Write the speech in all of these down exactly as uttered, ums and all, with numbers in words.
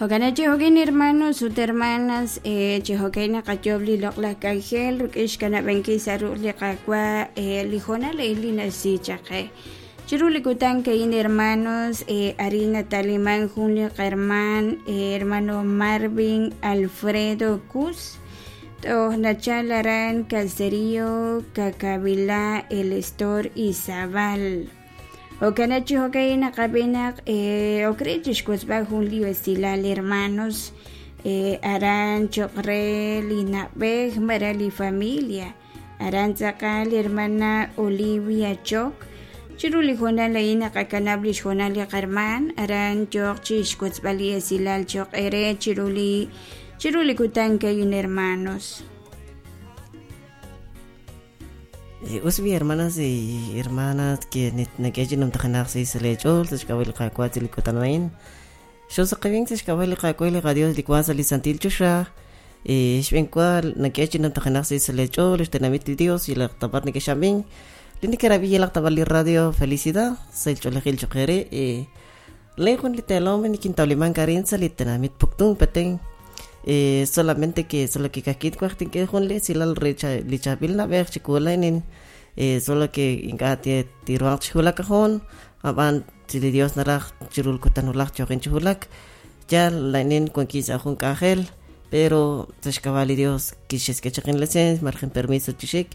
Jo'kan chi hermanos ut hermanas chi jo'kan naqayob' li loq'laj k'anjel rik'in xkanab'ankil sa' ruq' li qawa li hoonal a'in li naxsi chaq qe. Chiru li kutan ka'in hermanos arin nataliman jun li qaherman hermano Marvin Alfredo Cuz toj nachal aran Caserío Cacavilá El Estor Izabal. Jo'kan chi jo'kan naqab'i naq okre chixwotzb'al jun li esilal hermanos aran choq' re li na'b'ej mara li familia aran tz'aqal hermana Olivia Choc chiru li hoonal a'in naqakanab' li xhoonal li qarman aran yoq chixwotzb'al li esilal choq' ere chiru li chiru li kutan ka'in hermanos. Usbi hermanas y hermanas que nekechi nom tajanaq si se le chol se xkawil qawa til kutanain xo saqibin se xkawil qawa li Dios li kwa li santil chusha eh xbenqua nekechi nom tajanaq si se le chol tenamit Dios y la tabar nekeshamin li nekerabi la tabar li radio felicidad se cholejil chokere eh lejun li telom ni quintauliman karin sa li tenamit puktun peten eh solamente que solo que kakit cuartin que junle si la recha lichabil na ver chikulainin eh solo que inga tie tiruan chula cajón aban si le Dios naraj chirul kutanulaj choqin chulak ya lainin con quizá jun kajel pero tashkabali Dios quishes que chaqin lecen margen permiso chishik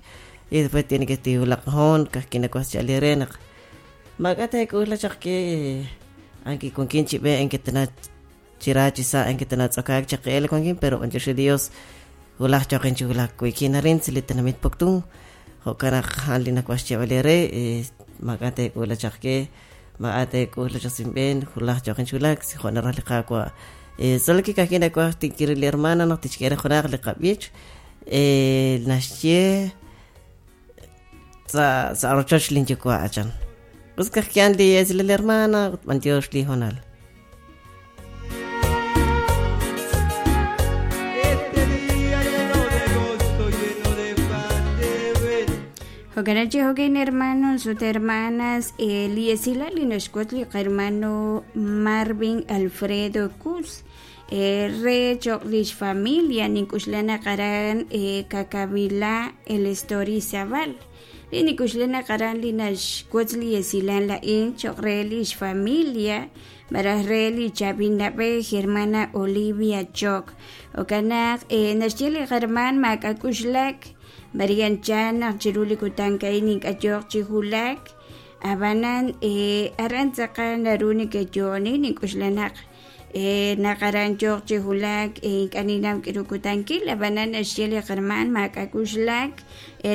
y después tiene que tiulak cajón kakina cuaschalirenak magate kula chaqque anki con quien chibe en que tena chirachi sa en que tenat okak chaqel con quien pero en Dios hulaj chaqen chulak kuikinarin silitenamit poktun jokanaj halina kuaxchiabalere magate kula chaqque magate kula chasimben hulaj chaqen chulak si jonaraj liqaqua solo que kakina kuaxtinkirili hermana no tichkere jonaj liqabich eh naxye sa sa arrochoch linchukua achan pues kajkian li es la hermana mantios li jonal. Jo'kan chi jo'kan hermanos ut hermanas li esilal li naxwotz li hermano Marvin Alfredo Cuz re choq' lix familia nink'uxlan qaran Cacavilá El Estor Izabal li nik'uxlan qaran li naxwotz li esilal la'in choq' re lix familia maraj re li chab'in nab'ej hermana Olivia Choc jo'kan naq naxye li herman maak'ak'uxlak Marian Chan naq chiru li kutan ka'in ink'ayoq chi julak abanan eh aran tz'aqal naru nikeyoni nink'uxlanaq eh naq aran yoq chi julak ink'aninam k'iru kutankil abanan naxye li herman maak'ak'uxlak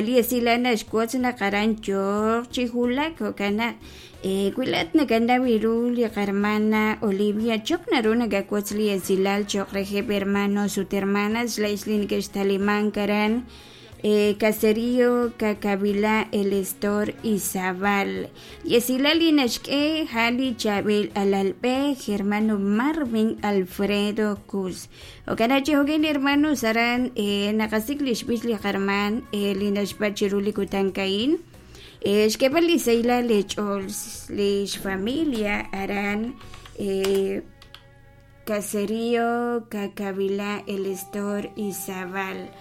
li esilal naxwotz naq aran yoq chi julak jo'kan naq eh wilat nakanaw iru li hermana Olivia Choc naru nakawotz li esilal choq rejeb hermanos ut hermanas la'ix li nekextaliman karan Eh, Caserío Cacavilá El Estor Izabal Yesilali naxk'e jali chab'il alalb'ej hermano Marvin Alfredo Cuz jo'kan chi jo'kan hermanos aran eh, naqasik li xb'ix li qarman eh, li naxpa chiru li kutan ka'in eh, xk'eb'al li seyla lech'ol lix familia aran eh, Caserío Cacavilá El Estor Izabal.